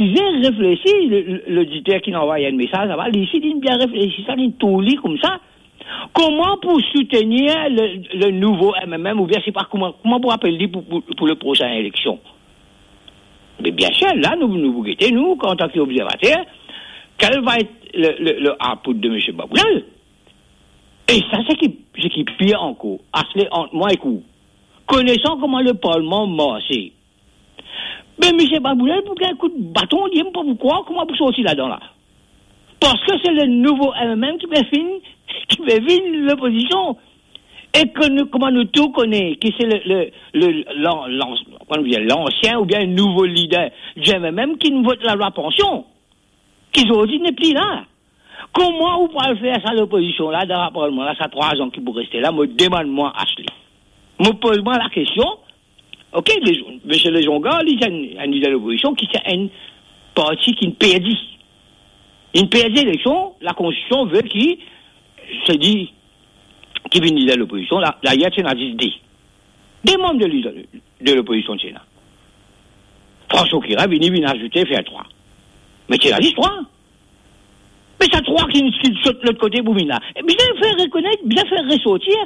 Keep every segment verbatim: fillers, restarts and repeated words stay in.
Bien reflesi, le, le, loditer ki inn anvway enn mesaz laba, li osi, li bien reflesi sa, li tou li koumsa. Kouma pou soutenir le, le nouvo M M M, oubien se pa kouma, kouma pou apel li pou, pou, pou le prosin eleksion? Me bien sir, la, nou, nou pou gete, nou, antan ki obzervater, quel va être le, le, le output de Monsieur Baboulal? E sa, se ki, se ki pir ankor. Asle, ant mwa ek ou, konesan kouma le parlman marse, me Misie Baboulal pou gagn kout baton, li mem pa pou krwar kouma pou sorti ladan la. Parski se le nouvo M M M ki pe vinn, ki pe vinn lopozision. E ke nou, kouma nou tou kone, ki se le, le, le, lan-, lan-, kouma nou dir, lansien oubien nouvo lider di M M M ki inn vot lalwa pansion, ki zordi nepli la. Kouma ou pou al fer sa lopozision la, dan laparlman la, sa trwa an ki pou reste la, mo demann mwa Asle. Mo poz mwa lakestion, ok, le, Misie Lezongar, li se enn, enn lider lopozision ki se enn parti ki inn perdi. Inn perdi eleksion, lakonstition ve ki se li ki vinn lider lopozision, la, dayer ti ena zis de. De manm de lider de lopozision ti ena. François Coquerel vini, vinn azoute, fer trwa. Me ti ena zis trwa. Me sa trwa ki, ki sot lot kote pou vinn la. E bizin fer rekonet, bizin fer resortir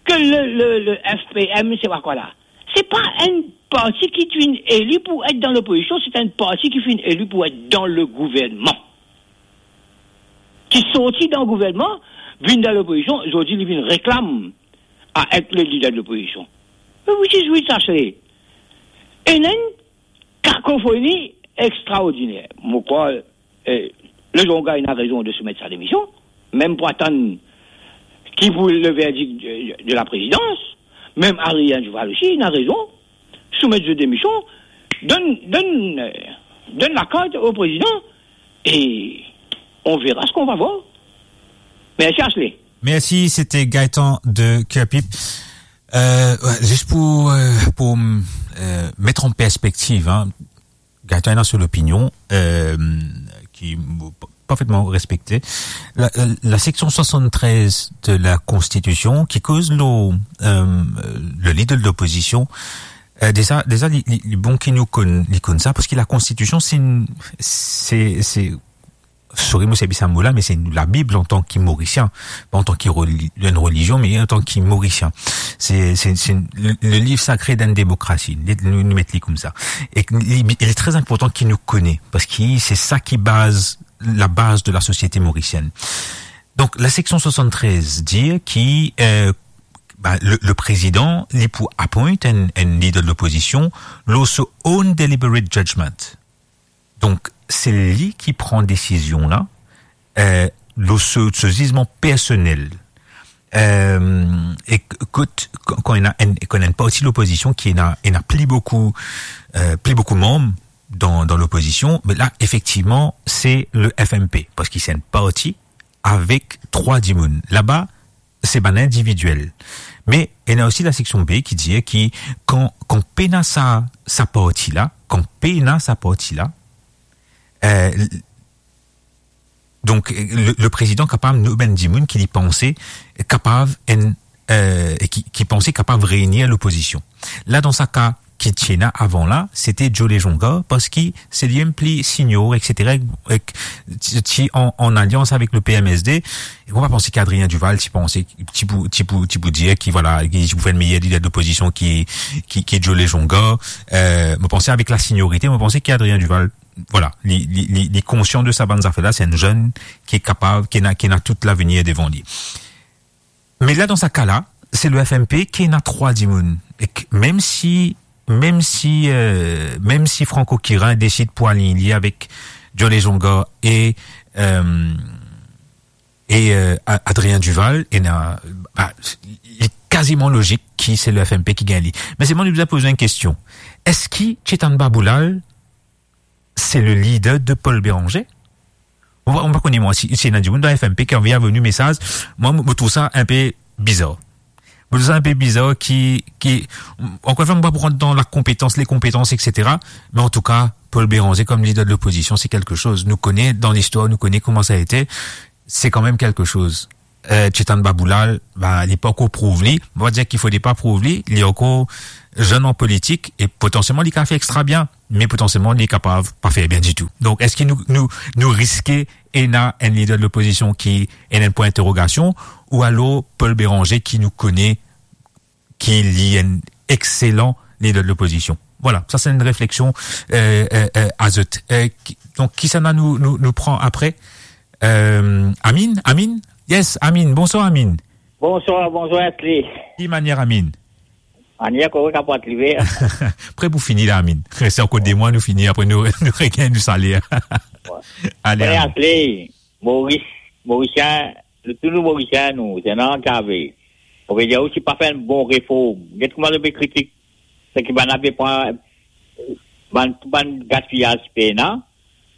ke le, le, le F P M, se pa kwa la? Se pa enn parti ki finn eli pou et dan lopozision, se enn parti ki finn eli pou et dan le gouvernman. Ki sorti dan gouvernman, vinn dan lopozision, zordi li vinn reklam a et le lider de lopozision. Me which is which, Asle? Ena enn kakofoni extraordiner. Mo krwar, eh, Lezongar ena rezon de soumet sa demision, mem pou atann ki pou le verdik de, de laprezidans, mem Adrien Duval osi ena rezon soumet zot demision, donn, donn, eh, donn lakart o prezidan, e on verra ce qu'on va voir. Mersi, Asle. Mersi, sete Gaëtan de Kerpip. Euh, ouais, zis pou, euh, pou, euh, met an perspektiv, hein, Gaëtan ena so lopinion, euh, ki mo parfetman respekte. La, la, la seksion swasann-trez de la Konstitision ki koz lor, euh, le lider de lopozision, euh, deza, deza li, li, li bon ki nou konn, li konn sa, parski la Konstitision, se enn, se, se, sori mo servi sa mo la, me se enn Labib antan ki Morisien, pa antan ki reli-, enn relizion, me antan ki Morisien. Se, se, se enn, le, le liv sakre dan demokrasi. Li, nou, nou met li koumsa. E li, li tre inportan ki nou kone, parski se sa ki baz, la baz de la sosiete morisienn. Donk, la seksion swasann-trez dir ki, euh, ba, le, le prezidan, li pou appoint enn, enn lider de lopozision, lor so own deliberate judgment. Donk, se li ki pran desizion la, euh, lor so, so zizman personel. Euh, e k-, kot, kan, kan ena enn, kan ena enn parti lopozision ki ena, ena pli boukou, euh, pli boukou manm dan, dan lopozision, me la, efektivman, se le F M P, parski se enn parti avek trwa dimoun. Laba, se bann individiel. Me ena osi la seksion B ki dir ki kan, kan pena sa, sa parti la, kan pena sa parti la, euh, l-, donk, le, le prezidan kapav nom enn dimoun ki li panse kapav enn, euh, e ki, ki panse kapav reini lopozision. La, dan sa ka, ki ti ena avan la, sete Joe Lezongar, parski se li mem pli senior, et cetera, ek ti, ti an, an alians avek le P M S D. E mo pa panse ki Adrien Duval ti panse, ti pou, ti pou, ti pou dir ki, vwala, ki ti pou fer enn meyer lider de lopozision ki, ki, ki Joe Lezongar. Euh, mo panse avek la seniorite, mo panse ki Adrien Duval, vwala, li, li, li, li konsian de sa bann zafer la, se enn zenn ki kapav, ki ena, ki ena tou lavenir devan li. Me la, dan sa ka la, se le F M P ki ena trwa dimoun. Ek mem si, mem si, euh, mem si Franck Coquerel desid pou align li avek Joe Lezongar e, euh, e, euh, A-, Adrien Duval, ena, ba, li kaziman lozik ki se le F M P ki gagn li. Me selman, nou bizin poz enn kestion. Eski Chetan Baboulal se le lider de Paul Bérenger? Mo pa, mo pa kone, mwa, si, si ena dimoun dan F M P ki anvi avoy nou mesaz, mwa, mo, mo trouv sa enpe bizar. Mo trouv sa enpe bizar ki, ki, ankor enn fwa, mo pa pou rant dan la konpetans, le konpetans, et cetera. Me antouka, Paul Bérenger kom lider de lopozision, se kelke soz. Nou kone, dan listwar, nou kone kouma sa ete. Se kanmem kelke soz. Euh, Chetan Baboulal, ba, li pa ankor prouv li. Mo pa dir ki fode pa prouv li, li ankor zenn an politik e potansielman li kapav fer extra bien. me potansielman, li kapav pa fer bien ditou. Donk, eski nou, nou, nou riske ena enn lider de lopozision ki ena enn pwin interogasion, ou alor Paul Bérenger ki nou kone ki li enn exelan lider de lopozision. Vwala, sa se enn refleksion, euh, euh, euh, a zot. Euh, ki, donk, kisannla nou, nou, nou pran apre? Euh, Amine, Amine? Yes, Amine. Bonswar, Amine. Bonswar, bonswar, Asli. Ki manier, Amine? Manier korek, apar li ver. Pre pou fini la, Amine. Res ankor de mwa, nou fini, apre nou, nou regagn nou saler. Wi. Ale, Amine. Asli, Moris, Morisien, nou, tou nou Morisien, nou, se non ki ave. Mo pe dir ou, si pa fer enn bon reform, get kouma zot pe kritik, seki bann la pe pran, bann, tou bann gaspiyaz ki pena,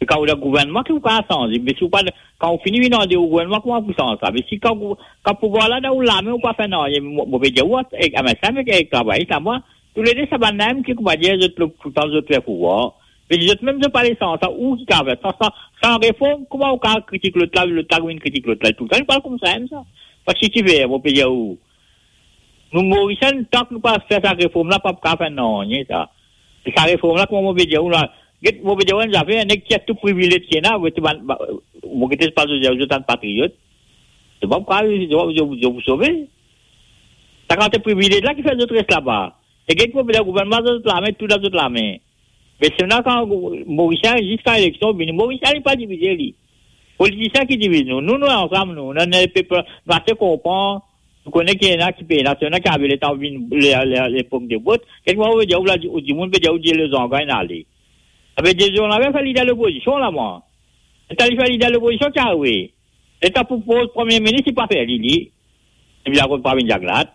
se kan ou dan gouvernman ki ou kapav sanze, me si ou pa, kan ou fini vinn andeor gouvernman, kouma ou pou sanz sa? Me si kan ou, kan pouvwar la dan ou lame, ou pa fer nanye, mo, mo pe dir ou, ek, ek, ek travay, sa mwa, toulede sa bann la mem ki, kouma dir, zot, toultan zot fer pouvwar, me zot mem zot pa le sanz sa, ou ki kapav fer sa, sa, san reform, kouma ou kapav kritik lot la, lot la vinn kritik lot la, toultan li parl koumsa mem sa. Parski ki fer, mo pe dir ou, nou Morisien, tan ki nou pa fer sa reform la, pa pou kapav fer nanye sa. E sa reform la, kouma mo pe dir ou la, get, mo pe dir ou enn zafer, neg tir tou privilez ki ena, get bann, ba, mo gete pa zot, zot bann patriot. Zot pa pou kapav, zot, zot, zot pou sove. Sa kantite privilez la ki fer zot res laba. E get mo pe dir, gouvernman dan zot lame, tou dan zot lame. Me sena kan Morisien, ziska eleksion vini, Morisien li pa divize li. Politisien ki diviz nou. Nou, nou ansam, nou. Nou, nou, lepep, nou ase konpran. Nou kone ki ena ki pena, sena ki ave letan vinn le, le, lepok de vot. Kek mo pe dir ou la, ou dimoun pe dir ou dir lezangan inn ale. Savedir lezangan fer lider lopozision la, mwa. Letan li fer lider lopozision ki arive? Letan pou poz premie minis, li pa fer li, li. Li bizin kot pa vinn zaglat.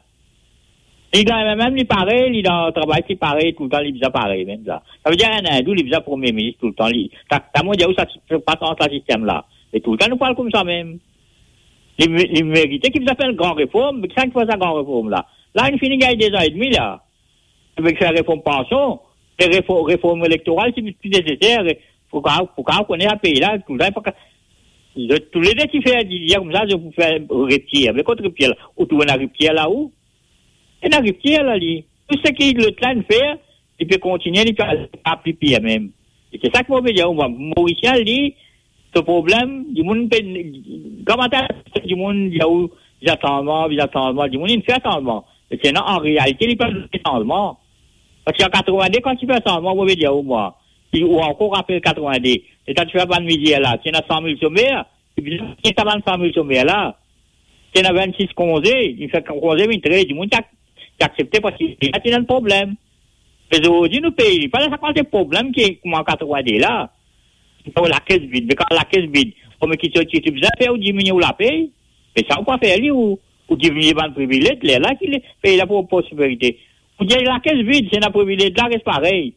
Li dan M M M, li parey, li dan travay, li parey, toultan li bizin parey, mem sa. Savedir enn indou, li bizin premie minis toultan, li, ta, ta mo dir ou sa, sa pa sanz sa sistem la. E toultan nou parl koumsa mem. Li, li merite ki bizin fer enn gran reform, me kisannla ki fer sa gran reform la? La, li fini gagn de zan edmi la. Avek sa reform pansion, e refo-, reform elektoral, si pli neseser, pou ka, pou ka kone sa pei la, toultan, pa ka, zot toulede ki fer, dir koumsa, zot pou fer riptir. Me kot riptir la? Ou trouv ena riptir la, ou? Ena riptir la, li. Tou seki lot la inn fer, li pe kontigne, li pe al pli pir mem. E se sa ki mo pe dir ou, mwa, Morisien, li, so problem, dimoun pe, kouma ta, dimoun, dir ou, bizin sanzman, bizin sanzman, dimoun inn fer sanzman. Me sena, an realite, li pa fer sanzman. Parski an katrovinde, kan ti fer sanzman, mo pe dir ou, mwa, si ou ankor rapel katrovinde, letan ti fer bann mizer la, ti ena san mil somer, ti bizin kit sa bann san mil somer la. Ti ena vennsis konze, li fer konze vinn trez, dimoun ti ak-, ti aksepte parski la ti ena enn problem. Me zordi nou pei, li pa dan sa kantite problem ki kouma an katrovinde la. Ou lakes vid, me kan lakes vid, kouma ki ti, ti, ti bizin fer ou diminie ou lapey, me sa ou pa fer li, ou, ou diminie bann privilez, lerla ki le, pei la pou prosperite. Ou dir lakes vid, si ena privilez la res parey.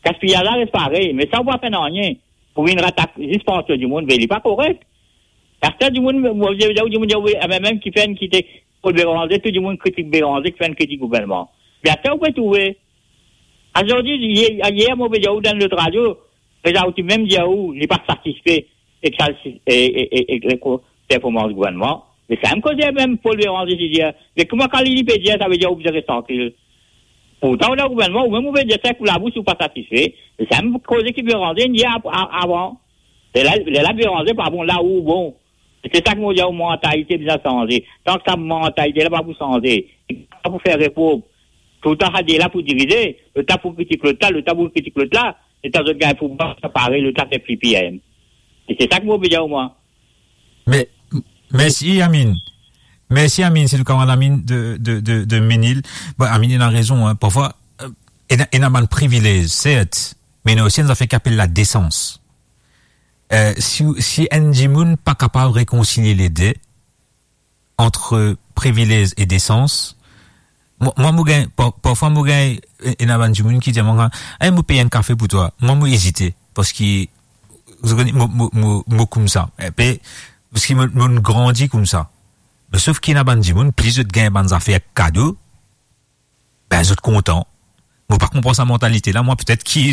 Gaspiyaz la res parey, me sa ou pa fer nanye. Pou vinn rat zis pansion dimoun, be li pa korek. Aster dimoun, mo, mo, mo, dimoun, dimoun, dimoun, mem ki fer enn kite Paul Bérenger, tou dimoun kritik Bérenger, ki fer enn kritik gouvernman. Me aster ou pe trouve, azordi, yer, yer, mo pe dir ou dan lot radio, prezan ou ti mem dir ou, li pa satisfe ek sa, e, e, e, e, e, ko-, performans gouvernman. Me sa mem koze mem Paul Bérenger ti dir, me kouma kan li, li pe dir, savedir ou bizin res trankil. Pourtan, ou dan gouvernman, ou mem ou pe dir sa ek ou labous, ou pa satisfe. Me sa mem koze ki Bérenger inn dir av-, a-, avan. Lerla, lerla Bérenger pa bon, la ou bon. E se sa ki mo dir, ou mantalite bizin sanze. Tan ki sa mantalite la pa pou sanze, pa pou fer reform, toultan sa de la pou dirize, lot la pou kritik lot la, lot la pou kritik lot la, letan zot gagn pouvwar, sa parey, lot la fer pli pir. E se sa ki mo pe dir ou, mwa. Me, m-, mersi, Amine. Mersi, Amine, se nou kamarad Amine de, de, de, de Menil. Bon, Amine, ena rezon, hein. Parfwa, euh, ena, ena bann privilez, sert, me ena osi enn zafer ki apel ladesans. Euh, si, si enn dimoun pa kapav rekonsilie lede, ant privilez e desans, mwa, mwa, mo gagn, par-, parfwa mo gagn, e, ena bann dimoun ki dir mwa, "Eh, mo pey enn kafe pou twa." Mwa, mo ezite, parski, zot kone, mo, mo, mo, mo koumsa. Epi, parski mo, mo grandi koumsa. Me sof ki ena bann dimoun, plis zot gagn bann zafer kado, be, zot kontan. Mo pa konpran sa mantalite la, mwa, petet ki,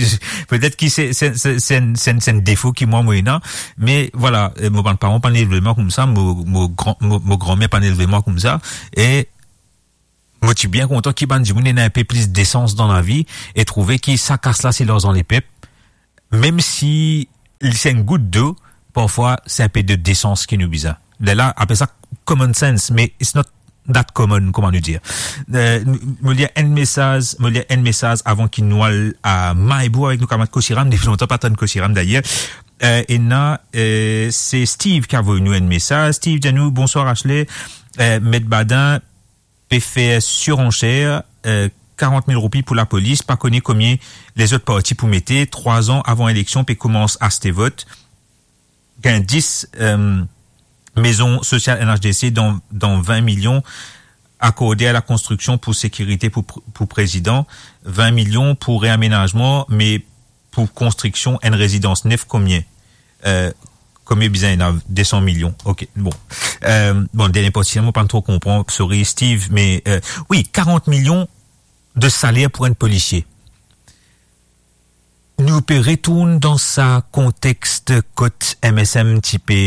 petet ki se, se, se, se enn, se enn, se enn defo ki mwa, mo ena, me vwala, eh, mo bann paran pa'nn elve mwa koumsa, mo, mo gran, mo, mo granmer pa'nn elve mwa koumsa, e Mo ti bien kontan ki bann dimoun ena inpe plis desans dan lavi e trouve ki sa kas la se larzan lepep, mem si li se enn gout dlo, parfwa se inpe de desans ki nou bizin. Lerla apel sa common sense, me it's not that common, kouma nou dir. Eh, mo lir enn mesaz, mo lir enn mesaz avan ki nou al a Maibou avek nou kamarad Kosiram, depi lontan pa tann Kosiram dayer. Eh, ena, eh, se Steve ki avoy nou enn mesaz. Steve dir nou, "Bonswar Ashley, eh, Met Badin pe fer siransher, eh, karant mil roupi pou lapolis, pa kone komie lezot parti pou mete, trwa zan avan eleksion pe koumans aste vot, gagn dis, eh, mezon sosial N H D C dan, dan vin milion akorde a lakonstriksion pou sekirite pou pr-, pou prezidan, vin milion pou reamenazman, me pou konstriksion enn rezidans nef, komie?" Eh, komie bizin ena? De san milion. Ok, bon. Eh, bon, dernie parti, mo pa tro konpran, sorry Steve, me, eh, wi, karant milion de saler pou enn polisie. Nou pe retourn dan sa kontex kot M S M ti pe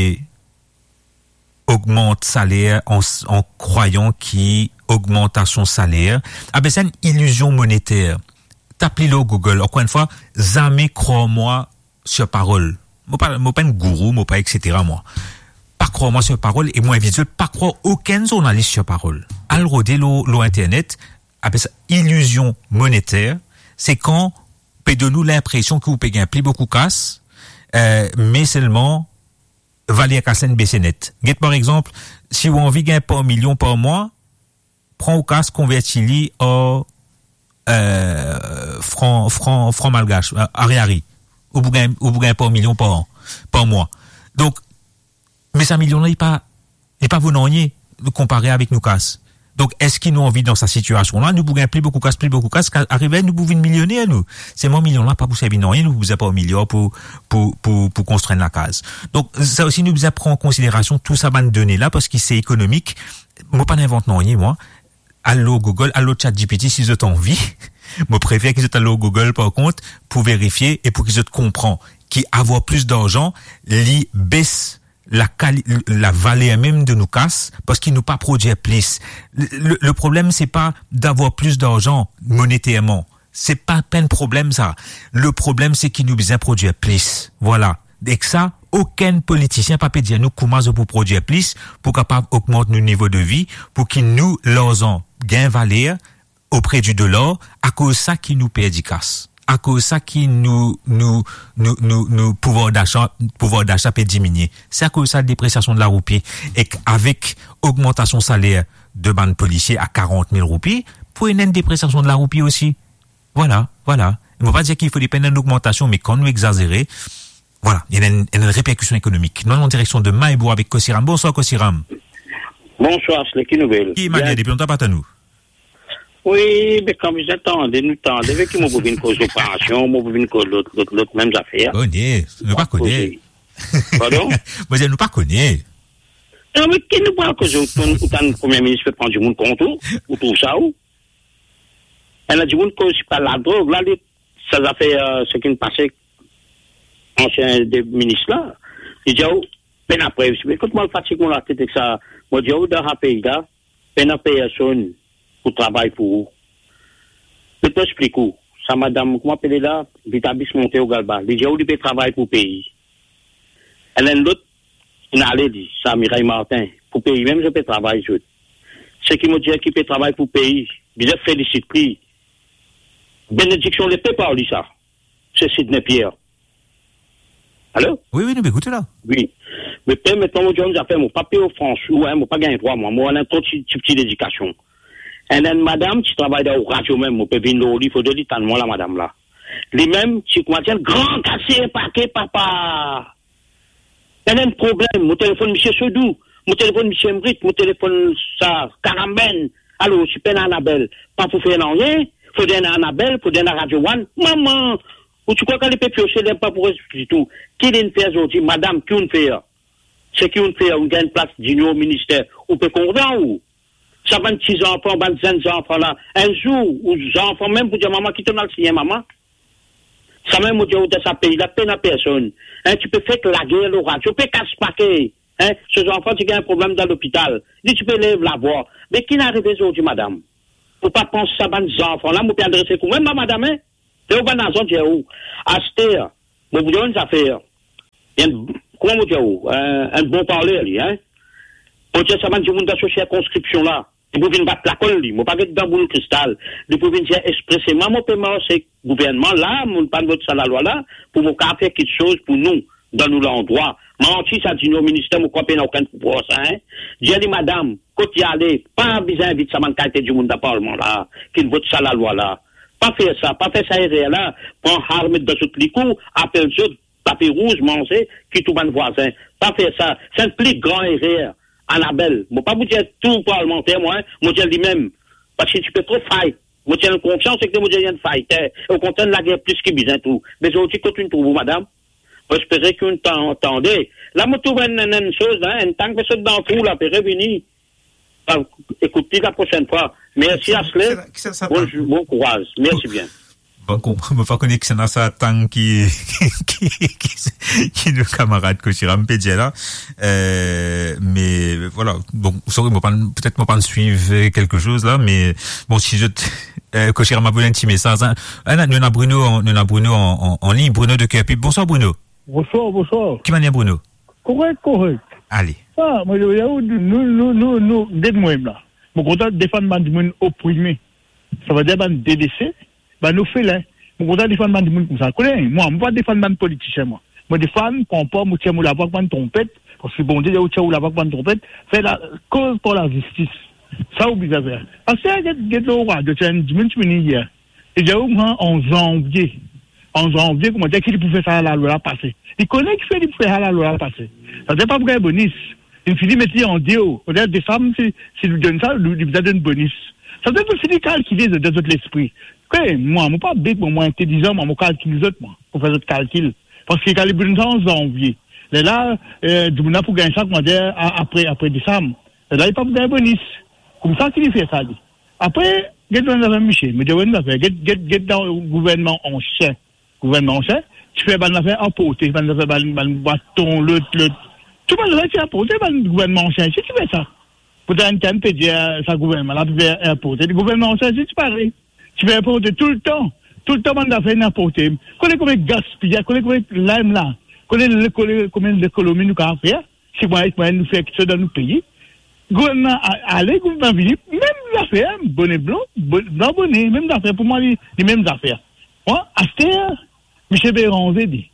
ogmant saler an, an krwayan ki ogmantasion saler, ah ben, se enn ilizion moneter. Tap li lor Google, ankor enn fwa, zame krwar mwa sir parol. Mo pa, mo pa enn gourou, mo pa et cetera mwa. Pa krwar mwa sir parol, e mo invit zot pa krwar okenn zournalis sir parol. Al rode lor, lor internet, apel sa ilizion moneter, se kan pe donn ou linpresion ki ou pe gagn pli boukou kas, eh, me selman valer kas la inn bese net. Get par exanp, si ou anvi gagn par milion par mwa, pran ou kas, konverti li an, eh, fran, fran, fran malgash, eh, ari-ari. Ou pou gagn, ou pou gagn par milion par an, par mwa. Donk, me sa milion la, li pa, li pa vo nanye konpare avek nou kas. Donk, eski nou anvi dan sa sitiasion la, nou pou gagn pli boukou kas, pli boukou kas, ka-, arive nou pou vinn milioner, nou? Selman milion la pa pou servi nanye, nou pou bizin par milion pou, pou, pou, pou konstrir enn lakaz. Donk, sa osi nou bizin pran an konsiderasion tou sa bann done la, parski se ekonomik. Mo pa invant nanye, mwa. Al lor Google, al lor ChatGPT si zot anvi. Mo prefer ki zot al lor Google, par kont, pou verifie e pou ki zot konpran ki avoir plis larzan, li bes lakali-, lavaler mem de nou kas, parski nou pa prodwir plis. Le, le, le problem, se pa d'avoir plis larzan moneterman. Se pa, pa enn problem, sa. Le problem, se ki nou bizin prodwir plis. Vwala. Ek sa, okenn politisien pa pe dir nou kouma zot pou prodwir plis, pou kapav ogmant nou nivo de vi, pou ki nou larzan gagn valer opre di dolar, akoz sa ki nou perdi kas. Akoz sa ki nou, nou, nou, nou, nou pouvwar dasa, pouvwar dasa pe diminie. Se akoz sa depresiasion de laroupi. Ek avek ogmantasion saler de bann polisie a karant mil roupi, pou ena enn depresiasion de laroupi osi. Vwala, vwala. Mo pa dir ki fode pa ena enn ogmantasion, me kan nou egzazere, vwala, ena enn, ena enn reperkision ekonomik. Nou al an direksion de Maibou avek Kosiram. Bonswar, Kosiram. Bonswar, Asle, ki nouvel? Ki manier, depi lontan pa tann ou? Wi, be kan bizin tande, nou tande, be ki mo pou vinn koz lopansion, mo pou vinn koz lot, lot, lot mem zafer. Kone, nou pa kone. Pardon? Mo dir, nou pa kone. Non, me ki nou pou al koze, ou tann, ou tann Premie Minis pe pran dimoun kont ou, ou trouv sa ou? Ena dimoun koz pa ladrog la, li, sa zafer, eh, seki pase ansien de minis la, li dir ou, pena prev. Me kot mo al fatig mo latet ek sa, mo dir ou, dan sa pei la, pena personn pou travay pou ou. Mo pou explik ou, sa madam, kouma apele la, Vitabis Monte ou Galba, li dir ou li pe travay pou pei. Ena enn lot, inn ale li, sa Mireille Martin, pou pei mem zot pe travay zot. Seki mo dir ki pe travay pou pei, bizin felisit li. Benediksion lepep ar li sa. Se Sidney Pierre. Alo? Wi, wi, nou pe ekout ou la. Wi. Me permet mwa mo dir ou enn zafer, mo pa pe ofans ou, en, mo pa gagn drwa mwa, mo ena tro ti, ti, ti ledikasion. Ena enn madam ti travay dan radio mem, mo pe vinn lor li, fode li tann mwa la madam la. Li mem ti kouma dir, gran kase pake papa. Ena enn problem, mo telefonn misie Sodou, mo telefonn misie Emrit, mo telefonn sa Karambenn. Alor, si pena Anabel, pa pou fer nanye, fode ena Anabel, fode ena Radio One. Mama, ou ti krwar kan li pe piose, li pa pou res ditou. Ki linn fer zordi, madam, ki ou'nn fer? Seki ou'nn fer, ou'nn gagn plas dinyor minister, ou pe kontan ou? Sa bann ti zanfan, bann zenn zanfan la, enn zour, ou zanfan mem pou dir, mama, kit to'nn al sign, mama. Sa mem mo dir ou, dan sa pei la, pena personn. En, ti pe fer lager lor radio, pe kas pake. En, so zanfan ti gagn problem dan lopital. Li ti pe lev lavwa. Me ki'nn arive zordi, madam? Ou pa pans sa bann zanfan la, mo pe adrese koumem, ma madam, hein? Pe ou bann azan dir ou, aster, mo pou dir ou enn zafer. Enn, kouma mo dir ou, eh, enn bon parler li, hein? Mo dir sa bann dimoun dan so sirkonskripsion la, li pou vinn bat lakol li, mo pa get dan boul kristal. Li pou vinn dir expreseman, mo pe mars ek gouvernman la, mo pa'nn vot sa lalwa la, pou mo kapav fer kiksoz pou nou, dan nou landrwa. Manti sa, dimoun minister, mo krwar pena okenn pouvwar sa, hein? Dir li, madam, kot li ale, pa bizin invit sa bann kalite dimoun dan parlman la, ki vot sa lalwa la. Pa fer sa, pa fer sa erer la, pran ar met dan zot likou, apel zot, tapi rouz, manze, ki tou bann vwazin. Pa fer sa, se enn pli gran erer. Anabel, mo pa pou dir tou parlmanter, mwa, hein, mo dir limem. Parski ti pe tro fight. Mo ti ena konfians ek li, mo ti ena fighter. E okontrer, lager plis ki bizin tou. Me zordi, kot ou'nn trouv ou, madam? Mo espere ki ou'nn tan-, tande. La, mo trouv enn, enn, enn soz la, enn tang pe sot dan trou la, pe revini. Ah, ekout li la prosenn fwa. Mersi, Asle. Bon, bon kouraz. Mersi bien. Bon, kon-, mo pa kone kisannla sa tang ki, ki, ki, ki nou kamarad Kochira, mo pe dir la. Euh, me, vwala, bon, sorry, mo pa'nn, petet mo pa'nn swiv, euh, kelke soz la, me, bon, si zot, euh, Kochira, mo pou enn ti mesaz, hein. Ah, non, nou ena Bruno an, nou ena Bruno an, an, an lign, Bruno de Kerpip. Bonswar, Bruno. Bonswar, bonswar. Ki manier, Bruno? Korek, korek. Ale. Ah, mo, nou, nou, nou, nou, get mwa la. Mo kontan defann bann dimoun oprime. Savedir bann delese, bann ofelin. Mo kontan defann bann dimoun koumsa. Kone, mwa, mo pa defann bann politisien, mwa. Mo defann, pran par, mo tir mo lavwa kouma enn tronpet, parski Bondie, ou tir ou lavwa kouma enn tronpet, fer la, koz par lazistis. Sa ou bizin fer. Aster, get, get lor radio, ti ena enn dimoun ti vini yer. Li dir ou, mwa, an zanvie. An zanvie, koumadir ki li pou fer sa lalwa la pase? Li kone kifer li pou fer sa lalwa la pase. Savedir pa pou gagn bonis. Li fini met li andeor. Olie desam, si, si li donn sa, li, li bizin donn bonis. Savedir fini kalkile zot dan zot lespri. Ke mwa, mo pa bet, mwa, mo intelizan, mwa, mo kalkil zot, mwa, pou fer zot kalkil. Parski kan li pou donn sa an zanvie, lerla, eh, dimoun la pou gagn sa, koumadir, a-, apre, apre desam. Lerla li pa pou gagn bonis. Koumsa ki li fer sa, li. Apre, get bann zafer misie, mo dir ou enn zafer, get, get, get dan gouvernman ansien. Gouvernman ansien, ti fer bann zafer anporte, bann zafer, bann, bann bwaton, lot, lot. Tou bann zafer ti anporte, bann gouvernman ansien, ti, ti fer sa. Pourtan, enn tann pe dir, eh, sa gouvernman la pe fer anporte. Gouvernman ansien, ti, ti parey. Ti fer anporte toultan, toultan bann zafer inn anporte. Kone konbien gaspiyaz, kone konbien lam la, kone le-, kone konbien lekonomi nou kapav fer, si mwa, mwa nou fer kiksoz dan nou pei. Gouvernman a-, ale, gouvernman vini, mem zafer, bone blan, bo-, blan bone, mem zafer, pou mwa, li, li mem zafer. Mwa, aster, misie Béranger, li,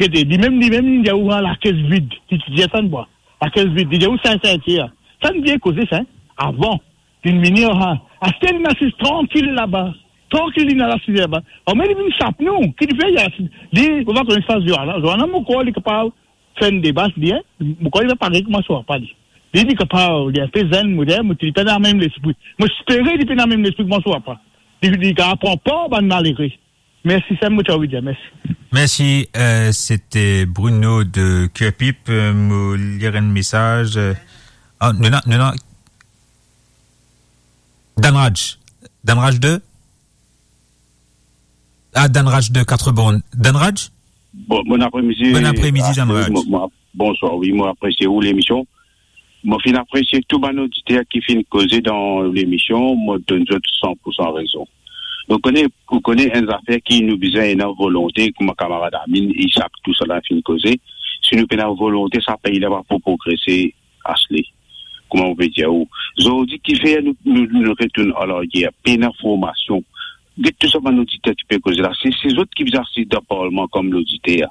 gete, limem, limem, li dir ou lakes vid, li ti dir sa, mwa, lakes vid, li dir ou sa, sa, sa. Sa nou bien koze sa, hein, avan. Linn vini, ah, aster linn asiz trankil laba. Trankil linn al asiz laba. Ame li vinn sap nou, ki li fer, li asiz. Li, ou pa kone sa Joana. Joana, mo krwar li kapav fer enn deba, li, hein. Mo krwar li pa parey kouma so papa, li. Li, li kapav, li inpe zenn, mo dir, mo dir, li pena mem lespri. Mo espere li pena mem lespri kouma so papa. Li, li kapav pran par bann malere. Mersi, sa mo ti anvi dir, mersi. Mersi, euh, c'était Bruno de Kerpip. Euh, mo lir enn mesaz. Euh, ah, nou ena, nou ena Danraj. Danraj de? Ah, Danraj de Quatre-Bornes. Danraj? Bon, bon apremidi. Bon apremidi, Astrid. Danraj. Mo, mo, bonswar, wi, mo apresie ou lemision. Mo finn apresie tou bann oditer ki finn koze dan lemision, mo donn zot san pou san rezon. Donk, kone, pou kone enn zafer ki nou bizin ena volonte, kouma kamarad Amin, Isak, tousala finn koze, si nou pena volonte, sa pei la pa pou progrese, Asle. Kouma mo pe dir ou, zordi kifer nou, nou, nou retourn anlaryer, pena formasion. Get tou sa bann oditer ki pe koze la, se, se zot ki bizin asiz dan parlman kom loditer,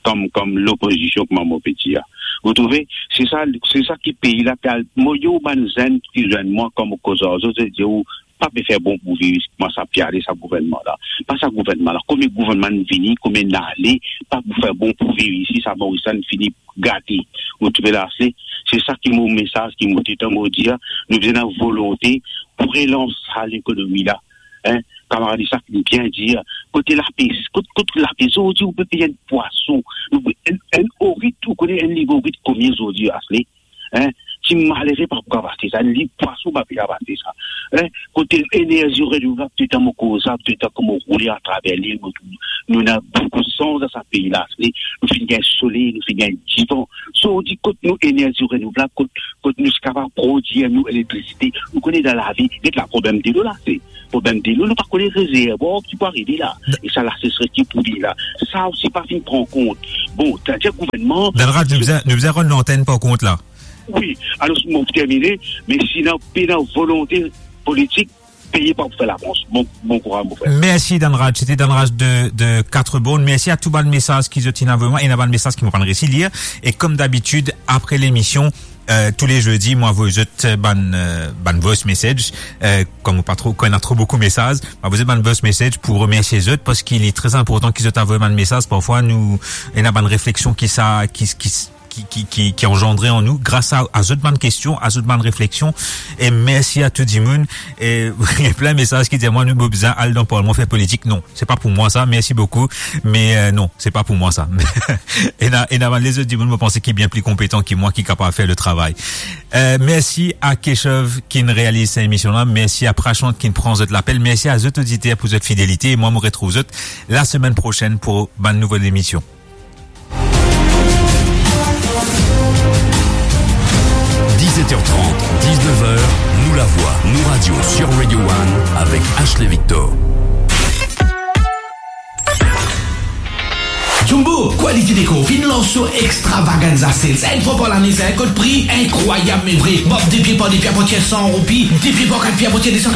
kom, kom lopozision, kouma mo pe dir. Vous trouvez? Se sa, se sa ki pei la pe al. Mo, yo, bann zenn ki zwenn mwa, kan mo koz ar zot, zot dir ou pa pe fer bon pou viv, kouma sa pe ale sa gouvernman la. Pa sa gouvernman la, konbien gouvernman vini, konbien ale, pa pou fer bon pou viv isi, sa Moris la fini gate. Vous trouvez la, se, se sa ki mo mesaz ki mo ti tann mo dir, nou bizin ena volonte pou relans sa lekonomi la. Hein? Kamarad Isak, li bien dir, kote lapes, kot, kot lapes, zordi ou pe pey enn pwason, ou pe, enn, enn orit, ou kone enn liv orit konbien zordi, Asle? Hein? Ti malere pa pou kapav aste sa, enn liv pwason pa pou kapav aste sa. Hein? Kote enerzi renouvlab, toultan mo koz sa, toultan kouma roule atraver lil, mo tou, nou ena boukou sans dan sa pei la. Se, nou finn gagn soley, nou finn gagn divan. So, ou dir kot nou enerzi renouvlab, kot, kot nou ti kapav prodir nou elektrisite. Nou kone dan lavi, get la, problem delo la, se problem delo, nou pa kone rezervwar ki pou arive la. E sa, lasesres ki pou vini la. Sa osi pa finn pran kont. Bon, savedir gouvernman... Dan rad, nou bizin, nou bizin rann lantenn par kont la. Wi, alor, mo pou termine, me si ena pena volonte politik, pei pa pou fer lavans. Bon, bon kouraz, mo frer. Mersi, Dan Raj. Sete Dan Raj de, de Quatre Bornes. Mersi a tou bann mesaz ki zot inn avoy mwa, ena bann mesaz ki mo pa'nn resi lir. E kom dabitid, apre lemision, euh, tou le zerdi, mo avoy zot, euh, bann, euh, bann voice message. Euh, kom pa tro, kan ena tro boukou mesaz, mo avoy zot bann voice message pou remersie zot, parski li tre inportan ki zot avoy bann mesaz. Parfwa, nou, ena bann refleksion ki sa, ki, ki, ki, ki, ki, ki anzandre an nou, gras a, a zot bann kestion, a zot bann refleksion. E mersi a tou dimoun. E, plin mesaz ki dir mwa, nou bizin al dan parlman fer politik. Non, se pa pou mwa sa, mersi boukou. Me, euh, non, se pa pou mwa sa. Ena, ena bann lezot dimoun, mo panse, ki bien pli konpetan ki mwa, ki kapav fer le travay. Euh, mersi a Keshav ki'nn realiz sa emision la. Mersi a Prashant ki'nn pran zot lapel. Mersi a zot oditer pou zot fidelite. E mwa, mo retrouv zot lasemenn prosenn pou bann nouvo emision. Dix-sept heures trente, dix-neuf heures, Nou Lavwa, Nou Radio sur Radio One avec Ashley Victor. Jumbo Quality Decor finn lans so extravaganza sales. Enn fwa par lane, sa enn kot pri inkrwayab, me vre. Bob de pie par de pie, apartir san roupi, de pie par kat pie, apartir de san